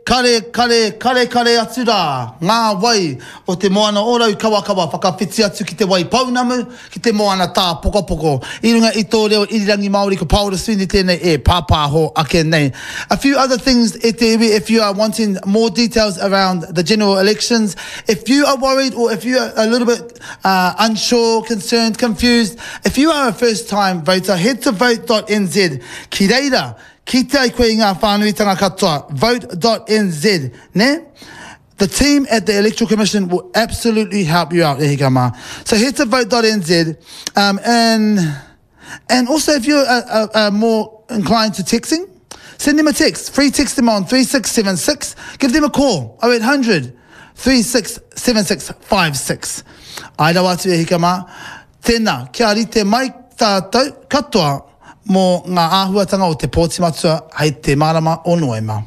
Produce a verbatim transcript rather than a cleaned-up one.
Kare, kare, kare, kare atu rā ngā wai o te moana o Raukawakawa whakawhiti atu ki te Waipounamu, ki te moana tāpokopoko. I runga i tō reo irirangi Māori ko Paora Sweeney tēnei e pāpāho ake nei. A few other things e te iwi if you are wanting more details around the general elections, if you are worried or if you are a little bit uh, unsure, concerned, confused, if you are a first time voter, head to vote.nz. Ki reira, Kite ai koe i ngā whānuitanga katoa, vote.nz, ne? The team at the Electoral Commission will absolutely help you out, e hika mā. So head to vote.nz, um, and, and also if you're uh, uh, uh, more inclined to texting, send them a text. Free text them on three six seven six. Give them a call, oh eight hundred, three six seven six five six. Ai rawa atu e hika mā. Tēnā, kia rite mai tātou katoa mō ngā āhuatanga o te pōti matua hei te marama o Noema.